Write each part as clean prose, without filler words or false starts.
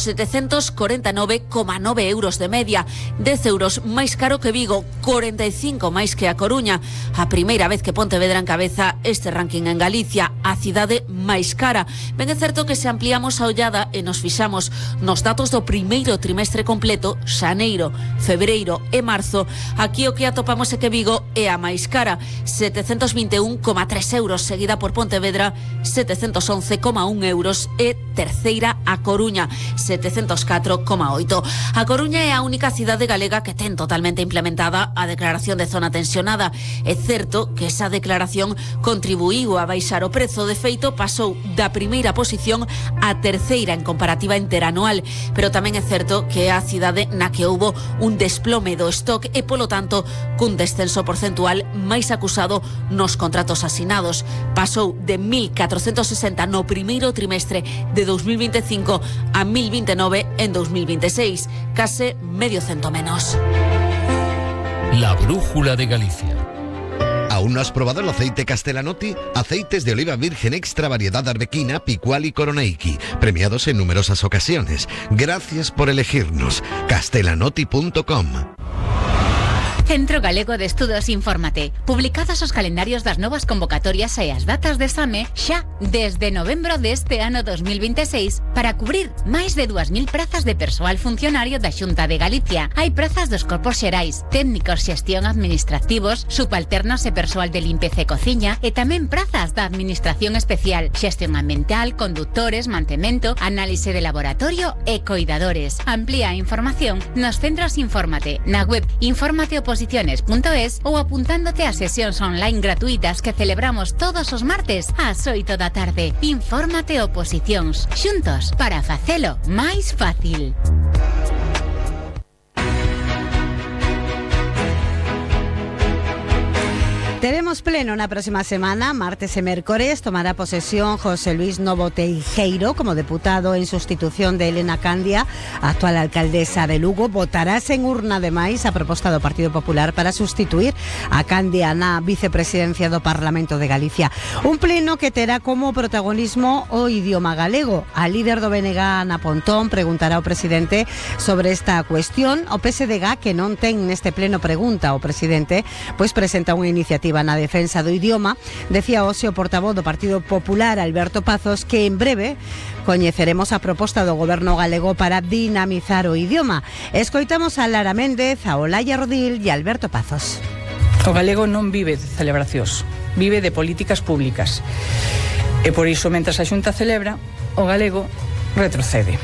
749,9 euros de media, 10 euros máis caro que Vigo, 45 máis que a Coruña. A primeira vez que Pontevedra encabeza este ranking en Galicia, a cidade máis cara. Ben é certo que se ampliamos a ollada e nos fixamos nos datos do primeiro trimestre completo, xaneiro, febreiro e marzo, aquí o que atopamos é que Vigo é a máis cara, 721,3 euros, seguida por Pontevedra, 711,1 euros e terceira a Coruña, 704,8. A Coruña é a única cidade galega que ten totalmente implementada a declaración de zona tensionada. É certo que esa declaración contribuiu a baixar o prezo, de feito pasou da primeira posición á terceira en comparativa interanual, pero tamén é certo que é a cidade na que houbo un desplome do stock e, polo tanto, cun descenso porcentual máis acusado nos contratos asinados. Pasou de 1.460 no primeiro trimestre de 2025 a 1.029 en 2026, case medio cento menos. La brújula de Galicia. ¿Aún no has probado el aceite Castellanotti? Aceites de oliva virgen extra variedad arbequina, picual y coroneiki, premiados en numerosas ocasiones. Gracias por elegirnos. Castellanotti.com. Centro Galego de Estudos Infórmate. Publicados os calendarios das novas convocatorias e as datas de exame xa desde novembro deste ano 2026 para cubrir máis de 2.000 prazas de persoal funcionario da Xunta de Galicia. Hai prazas dos corpos xerais, técnicos xestión administrativos, subalternos e persoal de limpeza e cociña e tamén prazas da Administración Especial, xestión ambiental, conductores, mantemento, análise de laboratorio e coidadores. Amplía a información nos centros Infórmate, na web informateoposiciones.es ou apuntándote a sesións online gratuitas que celebramos todos os martes ás 8 da tarde. Infórmate Oposicións, xuntos para facelo máis fácil. Teremos pleno na próxima semana, martes e mércores. Tomará posesión José Luis Novo Teijeiro como deputado en sustitución de Elena Candia, actual alcaldesa de Lugo. Votarás en urna, ademais, a proposta do Partido Popular para sustituir a Candia na vicepresidencia do Parlamento de Galicia. Un pleno que terá como protagonismo o idioma galego. A líder do BNG, Ana Pontón, preguntará ao presidente sobre esta cuestión. O PSDG, que non ten neste pleno pregunta ao presidente, pois presenta unha iniciativa na defensa do idioma. Decía hoxe o portavoz do Partido Popular, Alberto Pazos, que en breve coñeceremos a proposta do goberno galego para dinamizar o idioma. Escoitamos a Lara Méndez, a Olaya Rodil e a Alberto Pazos. O galego non vive de celebracións, vive de políticas públicas. E por iso, mentras a Xunta celebra, o galego retrocede.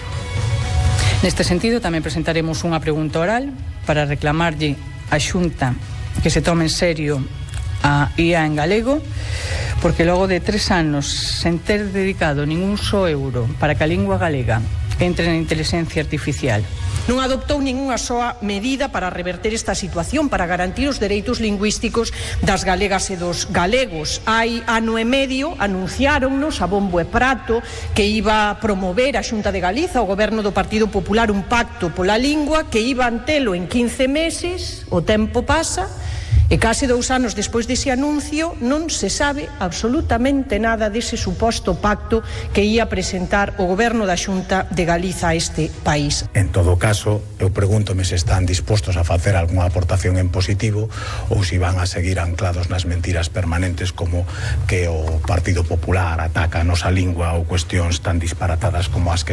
Neste sentido, tamén presentaremos unha pregunta oral para reclamarlle á Xunta que se tome en serio a IA en galego, porque logo de 3 anos sen ter dedicado ningún só euro para que a lingua galega entre na inteligencia artificial, non adoptou ningunha soa medida para reverter esta situación, para garantir os dereitos lingüísticos das galegas e dos galegos. Hai ano e medio anunciáronnos a bombo e prato que iba a promover a Xunta de Galiza, o goberno do Partido Popular, un pacto pola lingua que iba antelo en 15 meses. O tempo pasa e case 2 anos despois dese anuncio non se sabe absolutamente nada dese suposto pacto que ia presentar o goberno da Xunta de Galiza a este país. En todo caso, eu pregúntome se están dispostos a facer algunha aportación en positivo ou se van a seguir anclados nas mentiras permanentes como que o Partido Popular ataca a nosa lingua ou cuestións tan disparatadas como as que se